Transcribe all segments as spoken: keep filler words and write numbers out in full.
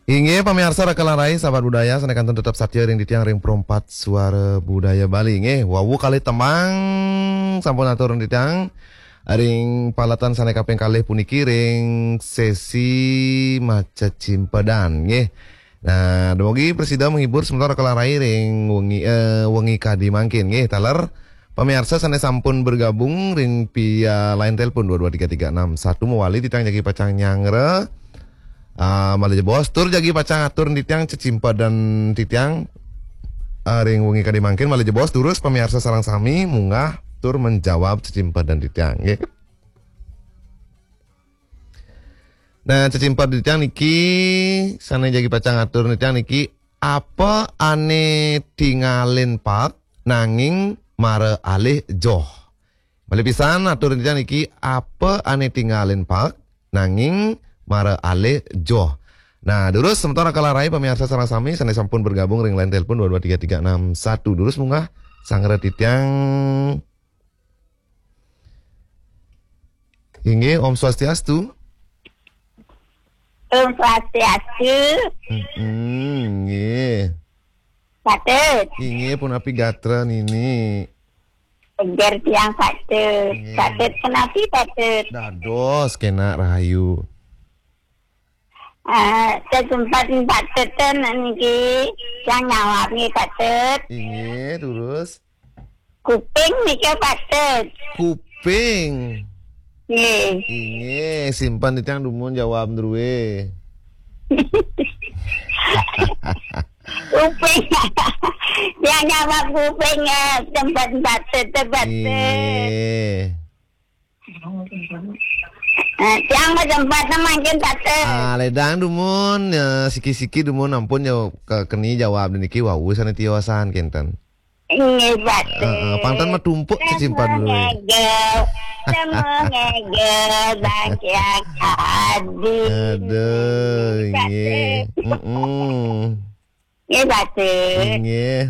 Inggih, pamiarsa Raka Larai, sahabat budaya, sané kantun tetep satia ring titiang ring Perempat Suara Budaya Bali. Inggih, wau kalih tembang sampun atur ring titiang ring paletan sané kaping kalih puniki ring sesi macecimpedan. Inggih. Nah, dumugi prasida menghibur semeton Raka Larai ring wengi, eh, wengi kadi mangkin. Inggih, taler pamiarsa sané sampun bergabung ring via line telepon dua dua tiga tiga enam satu mawali titiang jagi pacang nyanggra. Ah, malih jebos tur jagi pacang atur titiang cecimpedan titiang, ah, ring wengi kadi mangkin malih jebos durus pamiarsa sareng sami munggah tur menjawab cecimpedan titiang nggih. Nah, cecimpedan titiang niki sané jagi pacang atur titiang niki apa ané tingalin paek nanging mara alih joh. Malih pisan atur titiang niki apa ané tingalin paek nanging mara alih joh. Nah, durus semeton Raka Larai pamiarsa sareng sami sané sampun bergabung ring line telepon dua dua tiga tiga enam satu. Durus munggah sanggra titiang. Inggih, Om Swastiastu. Om Swastiastu. Mm-mm, nggih. Patut. Inggih, punapi gatra nini? Eger tiang patut. Nggih. Patut punapi patut? Dados kénak rahayu. Eh, cecimpedan patut ten niki yang nyawab nggih patut. Inggih, terus? Kuping nika patut. Kuping. Nggih. Inggih, simpen titiang dumun jawab drué. Kuping. Yang jawab kuping, eh, tempat patut, tempat patut. Inggih. Eh, tiang mah tempat mangkin patut. Ah, ledang dumun, ya, siki-siki dumun ampun ya ke-, keni jawab niki wau sané tiosan kénten. Inggih, patut. Heeh, pang ten mah tumpuk cecimpedan dulu. Ngegel, temu ngegel, bangkiang adi. Aduh, inggih. Patut. Mm-mm. Nggih, patut. Inggih.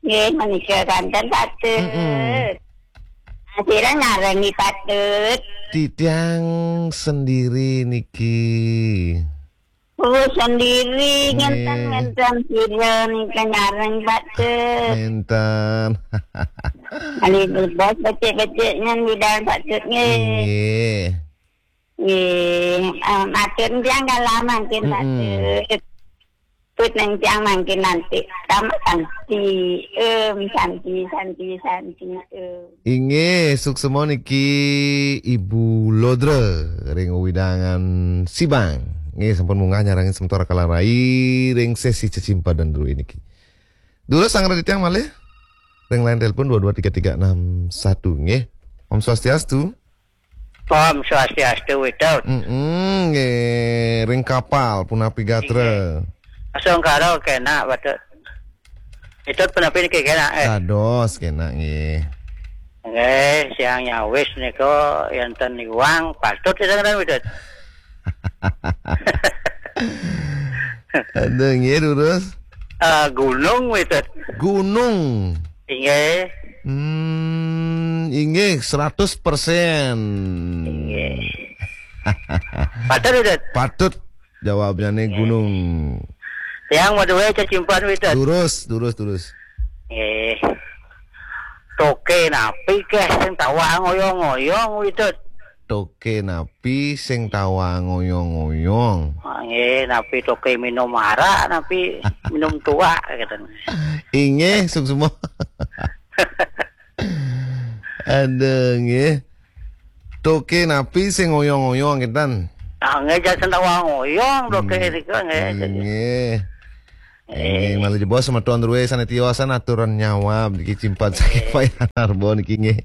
Nggih, menika kanten patut. Mm-mm. Sira ngarangi patut. Titiang sendiri niki. Oh, sendiri, nggih. Ngenten, ngenten sira nika nyareng patut. Ngenten. Ali bos becik-becik nyen bidang patut nggih. Nggih. Nggih, eh, matur tiang kala mangkin mm-mm. Patut. Put nang tiang mangkin nanti. Sama santi. Em, santi, santi, santi. Em. Inggih, suksma niki Ibu Lodra ring wewidangan Sibang. Nggih, sampun munggah nyarengin semeton Raka Larai ring sesi cecimpedan drué niki. Durus sanggra titiang malih ring line telepon dua dua tiga tiga enam satu nggih. Om Swastiastu. Om Swastiastu, Widut. Mm-mm, nggih, ring kapal punapi gatra. Nggih. Sungkara kénak, Widut. Widut punapi niki kénak, eh. Dados kénak nggih. Nggih, siang nyawis nika yén ten iwang patut kita kena, Widut. Aduh, nggih, durus. Eh, gunung, Widut. Gunung. Inggih. Hmm, inggih, seratus persen. Inggih. Patut, Widut? Patut. Jawabnya nih gunung. Tiang madué cecimpedan, Widut. Durus, durus, durus. Nggih. Toké napi kéh sing tawang ngoyong-ngoyong, Widut? Toké napi sing tawang ngoyong-ngoyong? Ah, nggih, napi toké minum arak, napi minum tuak, gitu. Inggih, suksma. Aduh, nggih. Toké napi sing ngoyong-ngoyong, kinten? Ah, nggih, jan sing tawang ngoyong, toké hmm. Nika, nggih. Nggih. Eh. Inggih, malih jebos semeton drué sané tiosan aturan nyawab niki cimpedan saking eh. Payanarba niki nggih.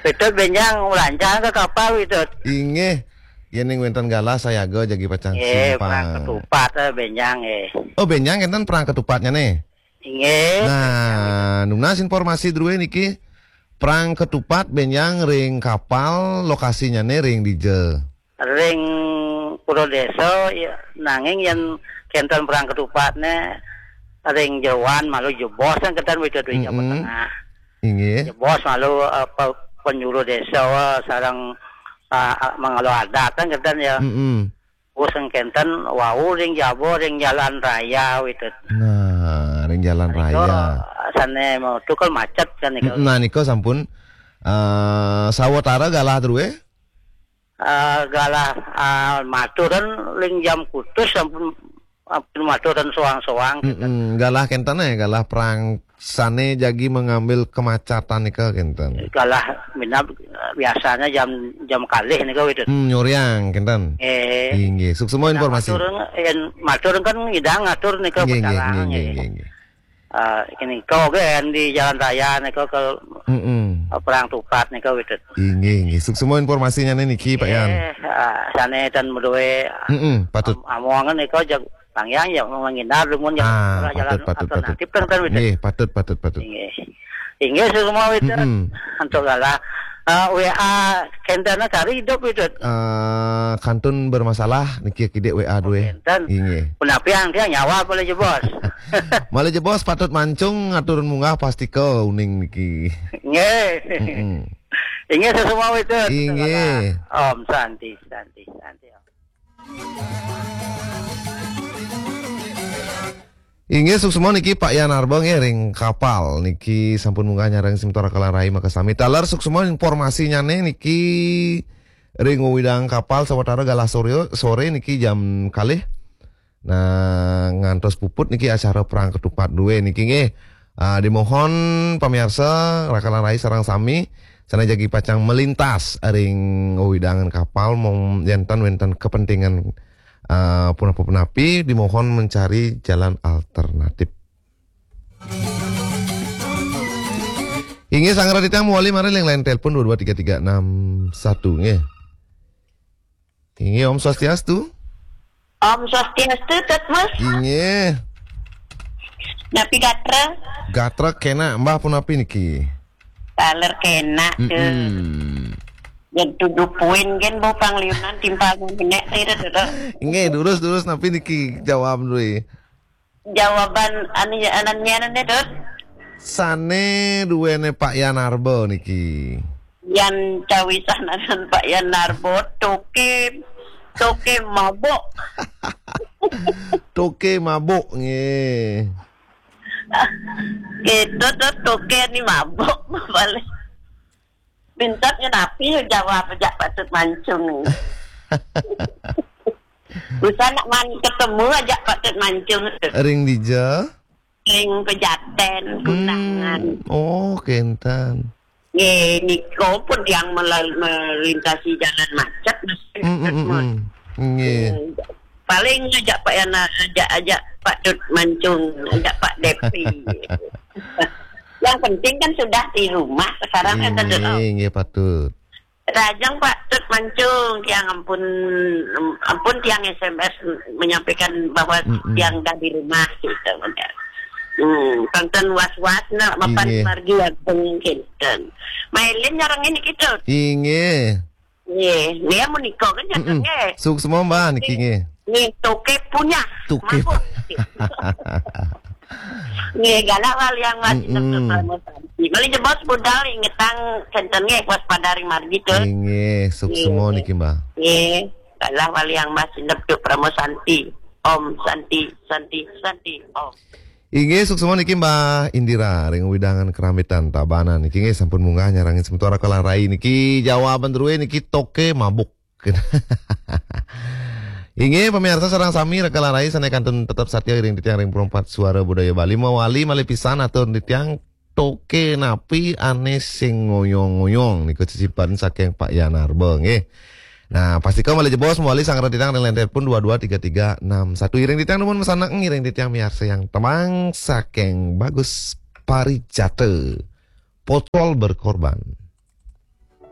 Widut bénjang lancar ke kapal, Widut? Inggih. Yén ning wénten galah sayaga jagi pacang eh, simpang. Perang ketupat, eh, bénjang, eh. Oh, bénjang kinten perang ketupatnya nih. Inggih. Nah, nunas informasi drué niki perang ketupat bénjang ring kapal lokasinya nih ring dija. Ring Pura Désa, ya, nanging yén kénten perang ketupatné ring jeroan malu jebos kan kénten Widut ring Jawa mm-mm. Tengah. Inggih. Jebos malu apa penyuluh désa sareng ah, mangalo adat kan kénten ya. Mm-mm. Wus kenten wau ring jaba ring jalan raya, Witut. Nah, ring jalan raya. Sané mau tukul macet kan nika. Mm, nah, nika sampun, eh, sawatara galah drué? Eh, galah, eh, maturan ring jam kutus sampun, sampun maturan soang-soang, kenten. Mm-mm, galah kenten, eh, galah perang sané jagi mengambil kemacatan nika kenten. Galah minab, eh, biasanya jam, jam kalih nika, Witut. Hmm, nyuriang kenten. Eh. Inggih, suksma informasi. Matur, yén matur kan ngidang ngatur nika. Inggih, inggih, petarangan, inggih, inggih, inggih. Eh, kini kau gé di jalan raya nika ke, mm-mm, eh, Perang Tupat nika, Witut. Inggih, inggih. Suksma informasinya niki, Pak Yan. Eh, eh, sané tan madué, mm-mm, patut. Am-, amongan nika jag pangyang ya mangindar dumun jalan, ah, jalan patut, patut, patut, alternatif kan, kan, Witut. Nggih, patut, patut, patut. Inggih. Inggih, suksma, Witut. Mm-mm. Antuk galah. Eh, W A kenten kari hidup, Witut. Eh, kantun bermasalah niki kidik W A dué. Oh, kenten. Inggih. Punapi ang tiang nyawa malih jebos. Malih jebos patut mancung ngaturun munggah pastika uning niki. Nggih. Mm-mm. Inggih, suksma, Witut. Inggih. Om Santi, Santi, Santi. Inggih, suksma niki Pak Yan Arba nggih ring Kapal niki sampun munggah nyarengin semeton Raka Lan Rai makasami. Taler suksma informasinyané niki ring wewidangan Kapal sawatara galah soré, soré niki jam kalih. Nah, ngantos puput niki acara Perang Ketupat dué niki nggih. Ah, dimohon pamiarsa Raka Lan Rai sareng sami sané jagi pacang melintas ring wewidangan Kapal mong yén ten wénten kepentingan, ah, punapa-punapi, dimohon mencari jalan alternatif. Inggih, sanggra titiang mawali malih ring line telepon dua dua tiga tiga enam satu nggih. Inggih, Om Swastiastu. Om Swastiastu, Tut Mas. Inggih. Napi gatra? Gatra kénak, Mbah, punapi niki? Taler kénak, Tut. Mm-mm. Yén tuduh puin gén bau pangliunan timpal nenek tira, Tut. Inggih, durus, durus, napi niki jawab dué? Jawaban anu, ananyané, Tut. Sané duéné Pak Yan Arba niki. Yan cawisananan Pak Yan Arba, toké, toké mabuk. Toké mabuk, nggih. Gitu, Tut, toké ni mabuk, balik. Pintatnya napi jawab ajak Pak Tut Mancung ni. Bisa nak man ketemu ajak Pak Tut Mancung. Ring dija? Ring Pejaten, hmm, Kundangan. Oh, kenten. Nggih, nika pun tiang melal-, melintasi jalan macet, mesti. Hmm, hmm, hmm, hmm. Nggih. Hmm. Paling ajak Pak Yana, ajak, ajak Pak Tut Mancung, ajak Pak Depi. Yang penting kan sudah di rumah sekarang, kan, Tut? Nggih, nggih, patut. Rajang Pak Tut Mancung, tiang ampun, ampun tiang S M S menyampaikan bahwa, mm-mm, tiang dah di rumah, gitu. Hmm, tonton was-was nak mapan, nggih, margi agung, kenten. Mailin nyarengin niki, Tut. Inggih. Nggih, nggih, menika kan, mm-mm, nggih. Suksma, Mbah, niki, nggih. Nggih, toké punya. Toké. Mabuk. Nggih, galah waliang mas, mm-mm, inep Tut Parama Santi. Malih jebos budal ingetang kenten nggih, waspada ring margi, Tut. Inggih, suksma, nggih, niki, Mbah. Nggih, galah waliang mas, inep Tut Parama Santi. Om Santi, Santi, Santi, Om. Inggih, suksma niki Mbah Indira ring wewidangan Kerambitan Tabanan. Niki nggih sampun munggah nyarengin semeton Raka Lan Rai niki, jawaban drué niki toké mabuk. Inggih, pamiarsa sareng sami Raka Lan Rai sané kantun tetep satia ring titiang ring Perempat Suara Budaya Bali, mawali malih pisan atur titiang toké napi ané sing ngoyong-ngoyong nika cicipen saking Pak Yanarba nggih. Nah, pastika malih jebos mawali sanggra titiang ring line telepon dua dua tiga tiga enam satu. Iring titiang nuwun masandekan, iring titiang miarsayang tembang saking Bagus Parijata, Potol Berkorban.